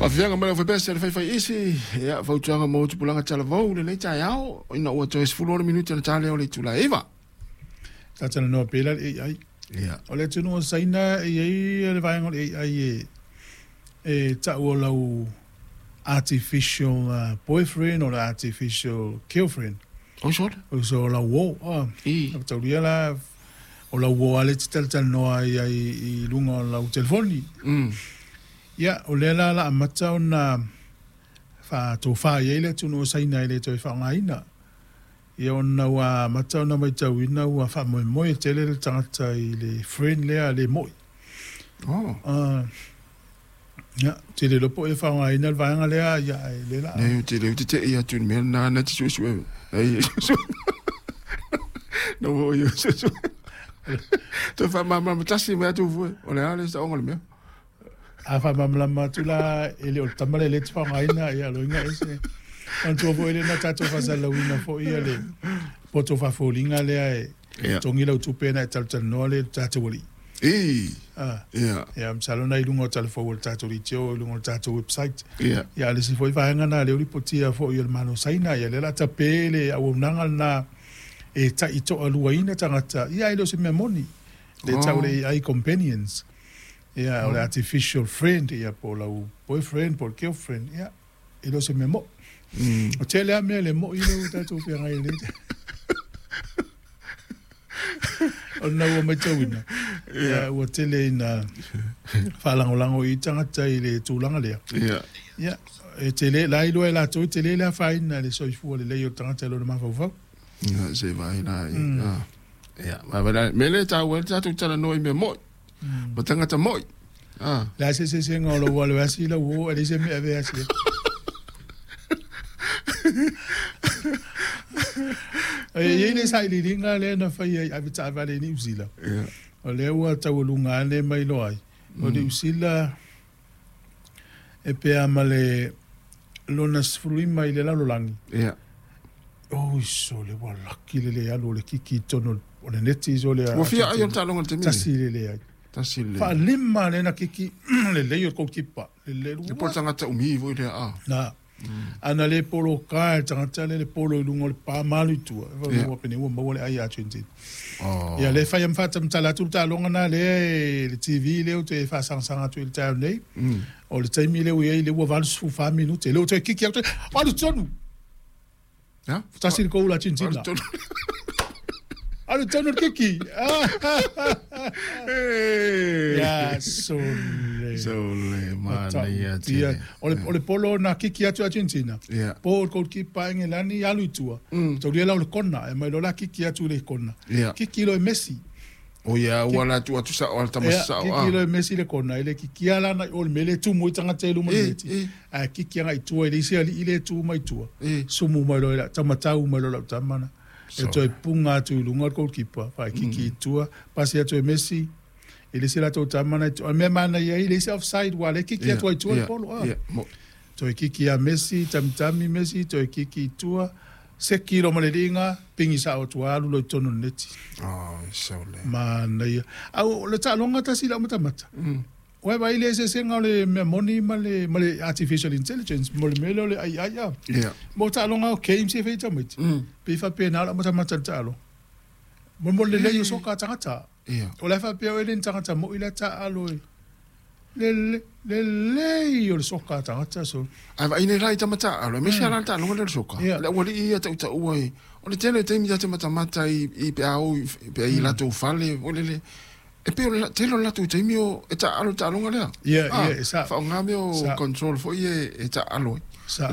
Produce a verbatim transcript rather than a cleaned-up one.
Faafiaga mai le aufaipease le faifaiisi, ia fautuaga mo tupulaga talavou lenei taeao, ina ua toe sefulu ono minute ona ta lea o le itula e iva. Talatalanoa pea la le A I. Ia. O le atunuu o Saina e i ai le vaega o le A I e, e ta'u o lau artificial uh, boyfriend o le artificial girlfriend. Oi sole? O so lau uō. Ah, I. taulia la o lau uō a le te talatalanoa ai ai i luga o lau telefoni. Mm. Ia, o lea la la amata ona faatofā i ai le atunuu o Saina e le toe faaaogaina. Ia ona ua amata ona matauina ua faamoemoe tele le tagata i le friend lea le mo'i. Oh. Ah, ia, tele loa po e faaaogaina le vaega lea, ia e le la. Nei, te leu te te i atu i le mea lena na te suesue. Ai, na ua o suesue. Toe faamalamalama tasi mai atu fue. O le a le saoga o le mea. A faamalamalama atu la e le o le tama lea e le te faaaogaina, ia loiga ese. Manatua foi lea na tatou faasalalauina foi ia le poto faafoliga lea e Ia. togi lau tupe na e talatalanoa le tatou alii. I. Ah. Ia. Ia, masalo na i luga o talafou o le tatou leitio, i luga o le tatou website. Ia. Ia, le isi foi vaega na lea ua lipotia foi e le Malo o Saina, ia lea o le a tape le auaunaga lena e taitoaluaina tagata, ia e le o se mea moni. Le tau le A I companions. Ia, o le artificial friend, ia, po o lau boyfriend, po o le girlfriend, ia, e le o se mea mo'i. Mm. O tele lava mea le mo'i lea ua tatou feagai ai nei. O lena ua matauina, ia, ua tele ina faalagolago i tagata i le tulaga lea. Ia. Ia, e tele, la iloa e latou, e tele le afaina i le soifua lelei o le tagata i lona mafaufau. Ia, se vaai la i. Ah. Ia, vaai la, me le taua ai le tatou talanoa i mea mo'i. Ma tagata mo'i. Ah. Le a se eseesega o lou alo e asi i lau uō, e leai se mea e ave e asi ai. E i ai le sailiiliga lea na faia i avetaavale i Niu Sila. Ia. O lea ua taualuga ane mai loa ai. O Niu Sila e pea ma le lona sefululima i le lalolagi. Ia. Oi sole ua laki le le alu o le kiki i totonu o le neti sole a Ua fia ai o le taaloga i le taimi nei? Tasi le leai. Tasi le. Faalima lea na kiki lelei o le goalkeeper. Lelei E po o le tagata umi foi lea a. Na. Ana le poloka e le tagata lea le polo i luga o le pa ma alu i tua. E Ia. ua pene ua maua le ai a Argentina. Oh. Ia le fai am faatamtala atu le taaloga na lea e le T V lea ou te faasagasagaatu i le taeao nei. Mm. O le taimi lea ua i ai lea ua valu sefulu fa minute. Lea ua toe kiki atu, alu tonu. Ya? Tasi le goal a Argentina. Alu tonu. Alu tonu le kiki. Hey. Ia, sole. Sole, manaia Ia, tele. o le, o le polo na kiki atu Argentina. Ia. Po o le goalkeeper Engelani alu i tua. Mm. Taulia la o le kona, e mai loa la kiki atu le kona. Ia. Kiki loa e Messi. O ia, ua la tu atu sao, ala tama Ia, sao, kiki ah. loa e Messi le kona, e le kiki ala na i o le mele tumu i tagata i luma Eh, neti. eh. A kiki anga i tua, i le isi ali'i le tu mai tua. Eh. Sumu mai loa i la, tamatau mai loa lau tamana. E So. toe punga atu i luga o le goalkeeper, fae kiki i tua, pasi atu e Messi, i le isi latou tamana i tua. O le mea manaia ai, le isi offside, ua le kiki Ia, atu ai tua le ia, polo, ah. ia, mo. Toe kiki ia Messi, tamitami Messi, toe kiki i tua, seki loa ma le liiga, pingi sa'o atu alu loa i totonu o le neti. Oh, sole. Manaia. Au, o le taaloga tasi i lau matamata. Mm. Ua vaai le eseesega o le mea moni ma le, ma le artificial intelligence, mo le mea lea o le A I a. Ia. Mo taaloga o games e fai tamaiti. Mm. Pe faapena lau matamata i le taaloga. Mo mo le lelei o soka a tagata. Ia. O le faapea oe le ni tagata mo'i la taalo e. Le, le, lelei o le soka a tagata so. Ai vaai nei la i tamata alo, aemaise la le taaloga lea o le soka. Ia. Le aualii ia tautaua i, o le tele o taimi ta te matamata i, i pe a o i, pe i latou fale, o le le, e pei o le tele o le latou taimi o e taalo le taaloga lea. Ia, Ah, ia, e sa. Faaaoga mea o Sa. control foi e, e taalo ai. Sa.